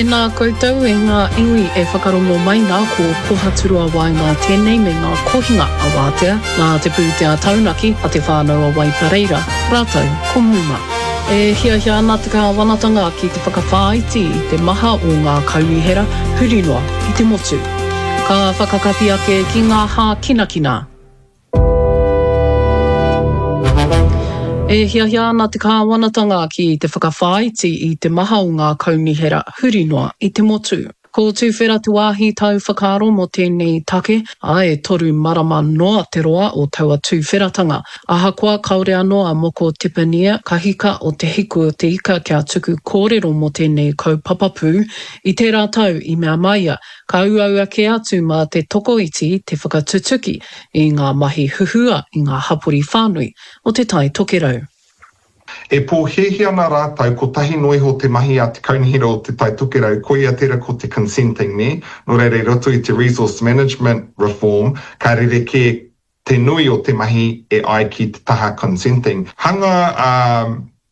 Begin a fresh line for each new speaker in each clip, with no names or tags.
Tēnā koutou e ngā iwi e whakarongo mai nā, ko Pohaturoa Waenga tēnei me ngā kohinga a Wātea, nā te pūtea taunaki a Te Whānau a Waipareira, rātou ko Muma. E hiahia ana te kāwanatanga ki te whakawhāiti i te maha o ngā kaunihera huri noa i te motu. Ka whakakapi ake ki ngā hākinakina. E hiahia ana te kāwanatanga ki te whakawhāiti i te maha o ngā kaunihera huri noa i te motu. Ko Tuwhera te wāhi tau whakaaro mō tēnei take, ā, e toru marama noa te roa o taua tuwheratanga. Ahakoa kāore anō a Moko Tepania, kahika o Te Hiku o Te Ika kia tuku kōrero mō tēnei kaupapa pū, i tērā tau i mea mai ia, Ka uaua kē atu mā te tokoiti te whakatutuki i ngā mahi huhua i ngā hapori whānui o Te Tai Tokerau.
E pōhēhē ana rātou kotahi noa iho te mahi a te Kaunihera o Te Tai Tokerau, koia tērā ko te consenting, nē? Nō reira i roto i te resource management reform, ka rerekē te nui o te mahi e ai ki te taha consenting. Hanga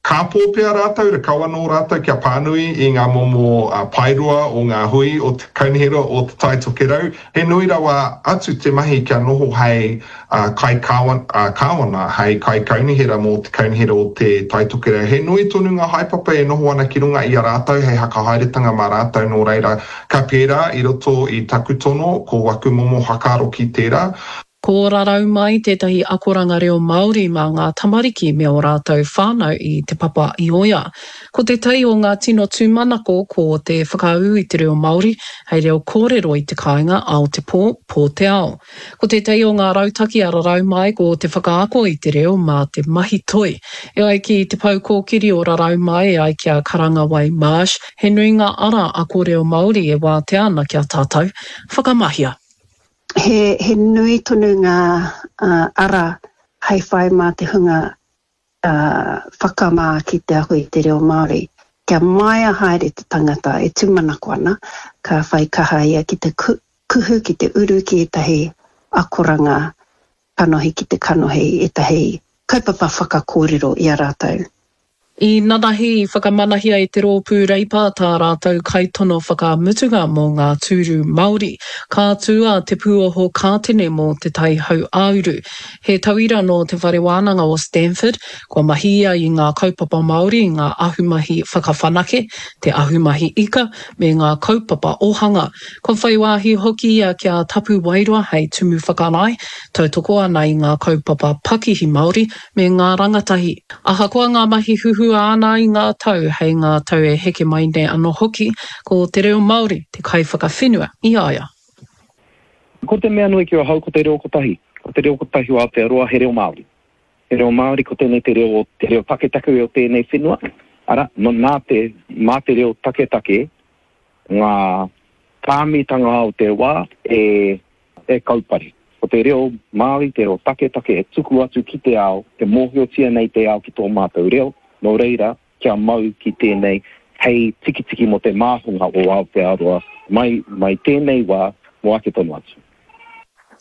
kāpō pea rātou, rakau anō rātou kia pānui i ngā momo paeroa o ngā hui o te Kaunihera o Te Tai Tokerau. He nui rawa atu te mahi kia noho hei kai-kāwana, hei kaikaunihera mō te Kaunihera o Te Tai Tokerau. He nui tonu ngā haepapa e noho ana ki runga i a rātou hei hakahaeretanga mā rātou nō reira ka pērā i roto i taku tono ko waku momo whakaaro ki tērā.
Ko Rarau Mai tētahi akoranga reo Māori mā ngā tamariki me ō rātou whānau i Te Papa i Oea. Ko tētahi o ngā tino tūmanako ko te whakaū i te reo Māori hei reo kōrero i te kāinga ao te pō, pō te ao. Ko tētahi o ngā rautaki a Rarau Mai ko te whakaako i te reo mā te mahi toi. E ai ki te pou kōkiri o Rarau Mai e ai ki a Karangawai Marsh, he nui ngā ara ako reo Māori e wātea ana ki a tātou. Whakamahia!
He, he nui tonu ngā ara hei whai mā te hunga whakamā ki te ako i te reo Māori. Kia māia haere te tangata e tūmanako ana, ka whai kaha ia ki te kuhu, ki te uru ki ētahi akoranga kanohi ki te kanohi, ētahi kaupapa whakakōrero i a rātou.
I nanahi i whakamanahia e te Rōpū Reipa tā rātou kaitono whakamutunga mō ngā tūru Māori. Ka tū a Te Pūoho Kātene mō Te Tai Hauāuru. He tauira nō Te Whare Wānanga o Stanford, kua mahi ia i ngā kaupapa Māori i ngā ahumahi whakawhanake, te ahumahi ika, me ngā kaupapa ōhanga. Kua whai wāhi hoki ia ki a Tapu Wairoa hei tumu whakarae, tautoko ana i ngā kaupapa pakihi Māori me ngā rangatahi. Ahakoa ngā mahi huhua āna i ngā tau, hei ngā tau e heke mai nei anō hoki, ko te reo Māori te kaiwhakawhenua i a ia.
Ko te mea nui ki ahau ko te reo kotahi. Ko te reo kotahi o Aotearoa he reo Māori. He reo Māori ko tēnei te reo, te reo taketake o tēnei whenua, arā, nā te, mā te reo taketake ngā tāmitanga o te wā e e kaupare. Ko te reo Māori, te reo taketake e tuku atu ki te ao, e mōhiotia nei te ao ki tō mātou reo, nō reira, kia mau ki tēnei hei tikitiki mō te māhunga o Aotearoa mai, mai tēnei wā mō ake tonu atu.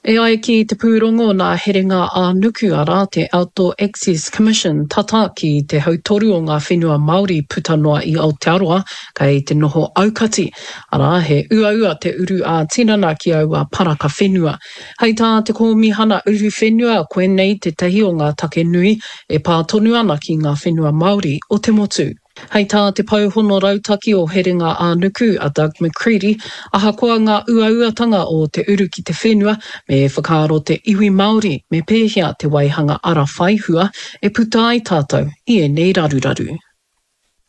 E ai ki te pūrongo nā Herenga ā-Nuku, arā, te Outdoor Access Commission, tata ki te hautoru o ngā whenua Māori puta noa i Aotearoa kei te noho aukati, arā, he uaua te uru ā-tinana ki aua paraka whenua. Hei tā te Kōmihana Uruwhenua, koinei tētahi o ngā take nui e pā tonu ana ki ngā whenua Māori o te motu. Hei tā te Pou Hono Rautaki o Herenga ā-Nuku, a Doug McCready, ahakoa ngā uauatanga o te uru ki te whenua, me whakaaro te iwi Māori me pēhea te waihanga ara whaihua e puta ai tātou i ēnei raruraru.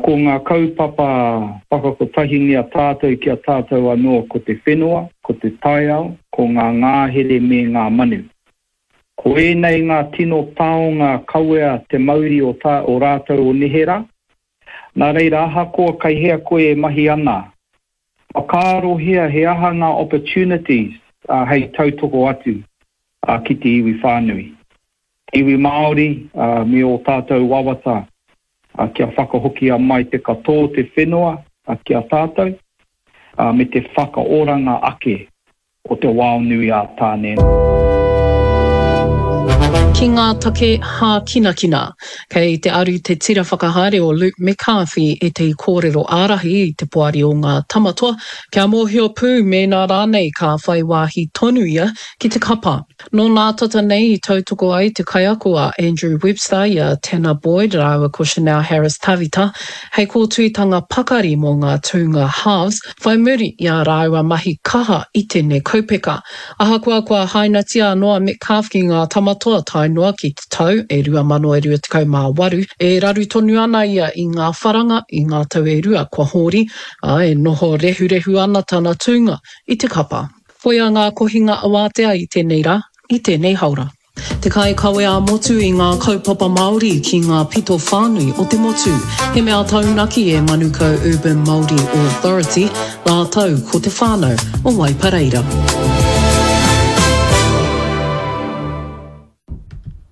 Ko ngā kaupapa whakakotahingia tātou ki a tātou anō ko te whenua, ko te taiao, ko ngā ngāhere me ngā manu. Ko ēnei ngā tino taonga kawea te mauri o tā o rātou o neherā. Nā reira ahakoa kei hea koe e mahi ana, whakaarohia he aha ngā opportunities hei tautoko atu ki te iwi whānui. Te iwi Māori me ō tātou wawata kia whakahokia mai te katoa o te whenua ki a tātou me te whakaoranga ake o te wao nui a Tāne.
Ki ngā take hākinakina. Kei te aru te tira whakahaere o Luke Metcalfe i ētahi kōrero ārahi i te poari o ngā Tamatoa kia mōhio pū mēnā rānei ka whai wāhi tonu ia ki te kapa. Nō nā tata nei i tautoko ai te kaiako a Andrew Webster i a Tanner Boyd rāua ko Chanel Harris-Tavita hei kōtuitanga pakari mō ngā tūnga halves whai muri i ā rāua mahi kaha i tēnei kaupeka. Ahakoa kua hainatia anō a Metcalfe ki ngā Tamatoa tae noa ki te tau e 2028, e raru tonu ana ia i ngā wharanga i ngā tau e rua kua hōri, ā, e noho rehurehu ana tana tūnga i te kapa. Koia ngā kohinga awātea i tēnei rā, i tēnei haora. Te kaikawe ā-motu i ngā kaupapa Māori ki ngā pito whānui o te motu. He mea taunaki e Manukau Urban Māori Authority rātou ko te whānau o Waipareira.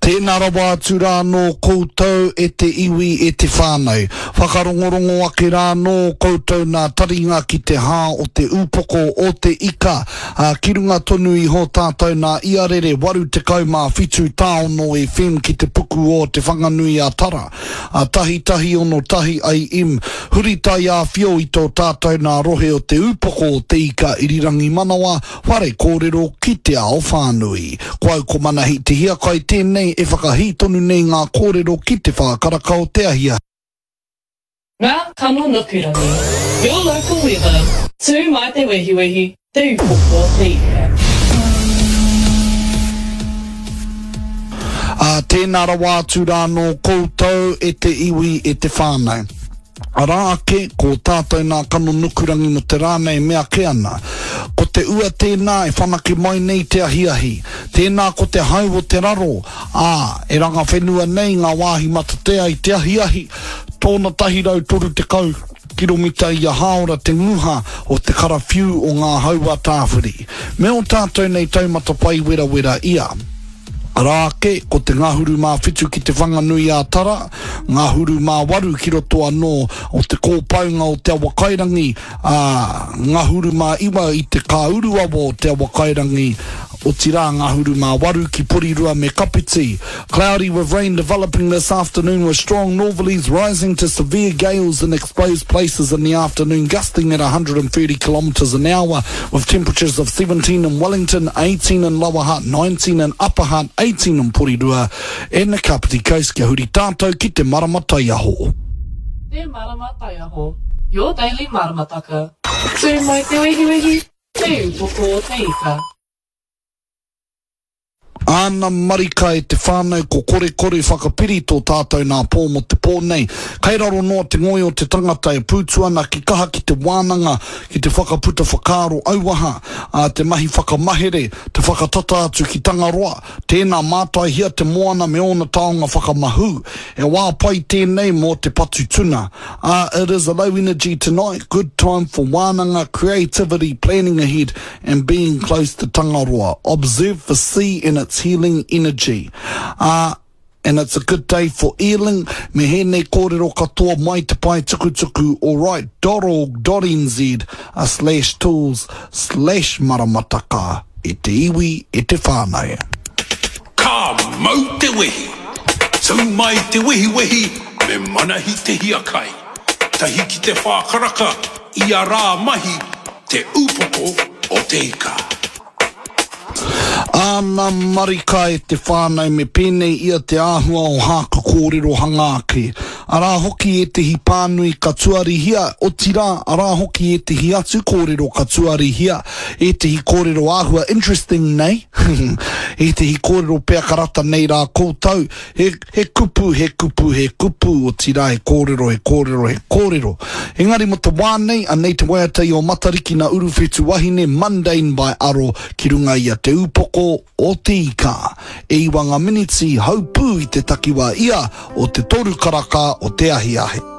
Tēnā rawa atu rā anō koutou e te iwi e te whānau. Whakarongorongo ake rā anō koutou nā taringa ki te hā o te upoko o te ika, ā, ki runga tonu iho tātou nā Iarere 87 tāono FM ki te puku o Te Whanganui a Tara, ā, tahitahi ono tahi AM, huri taiāwhio i tō tātou nā rohe o te upoko o te ika irirangi manawa, Whare kōrero ki te ao whānui. Ko au ko Manahi Te Hiakai tēnei e whakahī tonu nei ngā kōrero ki te whākaraka o te ahiahi.
Ngā kano nukurangi, Your local weather, Tū mai te wehiwehi, Te upoko o te ika.
Ā, tēnā rawa atu rā nō koutou e te iwi, e te whānau. Arā ake, ko tātou nā kano nukurangi mō te rā nei mea ake ana. Ko te ua tēnā e whanake mai nei te ahiahi. Tēnā ko te hau o te raro, ā, e ranga whenua nei ngā wāhi matatea i te ahiahi, tōna 130 kiromita ia hāora te nguha o te karawhiu o ngā hau a Tāwhiri. Me ō tātou nei taumata pai werawera ia. Arā ake, ko te ngahuru mā whitu ki Te Whanganui-ā-Tara, ngahuru mā waru ki roto anō o te kōpaunga o Te Awakairangi, ā, ngahuru mā iwa i te kāuruawa o Te Awakairangi, otirā ngahuru mā waru ki Porirua me Kapiti. Cloudy with rain developing this afternoon with strong northerlies rising to severe gales in exposed places in the afternoon gusting at 130 kilometres an hour with temperatures of 17 in Wellington, 18 in Lower Hutt, 19 in Upper Hutt, 18 in Porirua and the Kapiti Coast. Kia huri tātou ki te marama taiaho.
Te Marama Taiaho, your daily maramataka. Tū mai te wehiwehi, te upoko o te ika.
Āna marika e te whānau ko korekore whakapiri tō tātou nā pō mō te pō nei. Kei raro noa te ngoi o te tangata e pūtu ana ki kaha ki te wānanga, ki te whakaputa whakaaro auaha, ā, te mahi whakamahere, te whakatata atu ki Tangaroa. Tēnā mātaihia te moana me ōna taonga whakamahū. He wā pai tēnei mō te patu tuna. Ā, it is a low energy tonight, good time for wānanga, creativity, planning ahead, and being close to Tangaroa. Observe the sea and its healing energy. Ā, and it's a good day for eeling. Me hēnei kōrero katoa mai te pae tukutuku alright dot org dot nz a slash tools slash maramataka e te iwi, e te whānau.
Ka mau te wehi! Tū mai te wehiwehi me Manahi Te Hiakai. Tahi ki te whākaraka ia rā mahi Te Upoko o te Ika.
Āna marika e te whānau me pēnei ia te āhua o hāku kōrero hanga ake. Arā hoki ētehi pānui ka tuarihia, otirā, arā hoki ētehi atu kōrero ka tuarihia, ētehi kōrero āhua interesting nei, ētehi kōrero pea ka rata nei rā koutou, He, he kupu, he kupu, he kupu, otirā he kōrero, he kōrero, he kōrero. Engari mō te wā nei, anei te waiata i o Matariki nā Uruwhetu Wahine, Mundane by Aro, ki runga i a Te Upoko o Te Ika. E iwa ngā miniti, haupū i te takiwā ia o te toru karaka o te ahiahi.